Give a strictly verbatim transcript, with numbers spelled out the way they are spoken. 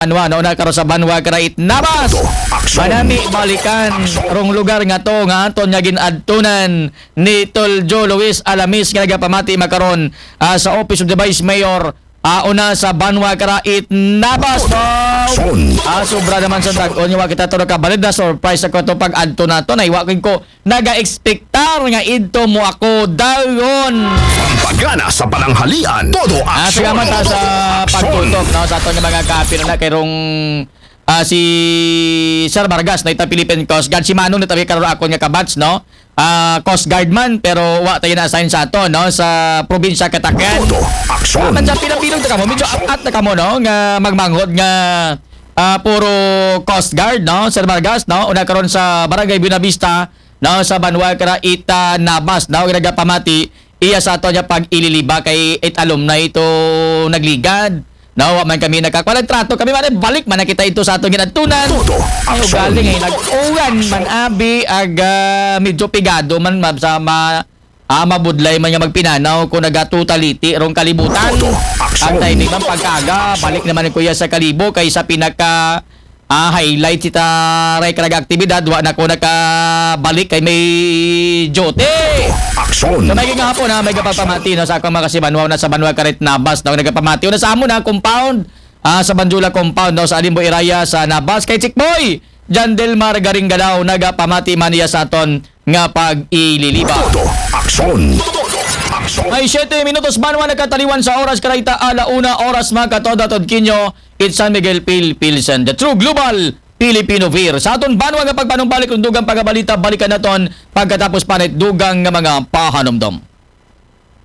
Banwa, no, na karo sa Banwa Karaitnabas. Manami balikan rong lugar nga to nga aton nga ginadtunan ni Tol Joe Luis Alamis nga nagapamati makaron, ah, sa Office of the Vice Mayor, ah, una sa Banwa Karaitnabas. Wow! Ah, sobra naman sa tag-on nga wa kita to nakabalid na surprise ako to pag-adto nato na iwa ko naga-expectar nga idto mo ako dayon. Pagana sa pananghalian, todo Ah, aksyon. salamat ha, sa Aksyon. pagtutok, no, sa aton nga mga kapil na kay rong, ah, si Sir Vargas na ita Philippine Coast Guard, si Manong na tabi karon akon nga kabats, no. Ah, Coast Guard man pero wa tayo na-assign sa ato, no, sa probinsya Katakan. Todo aksyon. Medyo pinabilog na kamo, medyo at na kamo, no, nga magmanghod nga, ah, puro Coast Guard, no, Sir Vargas, no, una karon sa Barangay Buenavista, no, sa Banwa Karaitnabas, no, nagapamati iya sa ato niya pag ililiba kay it alumni ito nagligad. No, wa man kami nakakuha ng trato. Kami man, eh, balik man na kita ito sa atong ginadtunan. Todo Ay, aksyon. ugali nga, nag-uwan man abi, ag, ah, medyo pigado man, ma- sa ma- ah, mabudlay man nga magpinanaw kung nagatutaliti rong kalibutan. Todo aksyon. Ang timing man pagkaga, balik naman ni Kuya sa Kalibo kay sa pinaka, ah, highlight sita ray karag aktibidad, wa na ko nakabalik kay may duty. Aksyon. So, may gihapon na may kapagpamati, no, sa akong mga kasibanwa na sa Banwa Karit Nabas, no, nagapamati na sa amo na compound, ah, sa Banjula compound, no, sa Alimbo Iraya sa Nabas kay Chikboy Jan Delmar Garinggalaw, nagapamati man niya sa aton nga pag-ililiba. Todo aksyon. Todo aksyon. Ay, siyete minutos banwa nakataliwan sa oras karayta ala una oras mga katod-atod kinyo. It's San Miguel Pil Pilsen, the true global Filipino Fear. Sa aton banwa nga pagpanumbalik ng dugang pagabalita, balikan naton pagkatapos pa na dugang nga mga pahanumdom.